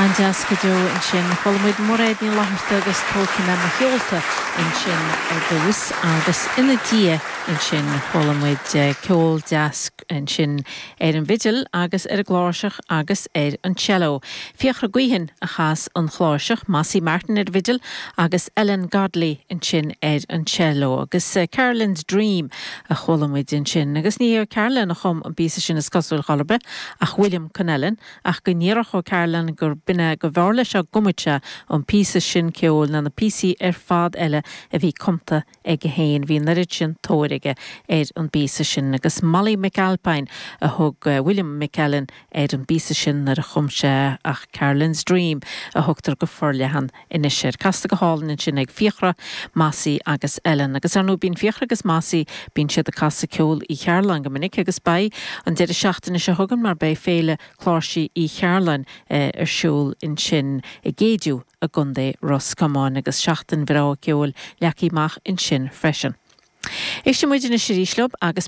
An-deas go deo ansin. Chuala muid Mairéad Ní Fhlatharta agus Tógfaidh mé mo sheolta ansin ar dtús agus ina diaidh ansin chuala muid ceol deas ansin ar an bhfidil agus ar an gcláirseach agus ar an cello. Fiachra Gaoithin a chas an chláirseach, Mossy Martin ar an bhfidil agus Ellen Godley ansin ar an cello. Agus Caroline's Dream a chuala muid ansin. Agus ní hé Caroline a chum an píosa sin is cosúil chor ar bith ach William Connellan ach go ndéarfadh ó Caroline gur b'in é go mb'fhearr leis dá gcumfadh sé an píosa sin ceoil ná na píosaí ar fad eile a bhí cumta aige féin. Bhí an oiread sin tóir aige ar an bpíosa sin. Agus Molly McAlpine a thug William McEllen ar an bpíosa sin nuair a chum sé é ach Caroline's Dream a thugtar go forleathan anois air. Casta go hálainn ansin ag Fiachra, Mossy agus Ellen. Agus ar ndóigh bíonn Fiachra agus Mossy, bíonn siad ag casadh ceol Uí Chearúlláin go minic agus beidh an deireadh seachtaine seo chugainn mar beidh Féile Cláirsí Uí Chearúlláin ar siúl ansin i gCéidiú i gContae Ros Comáin agus seachtain bhreá ceoil leagtha amach ansin freisin. Éistfidh muid anois arís leo agus.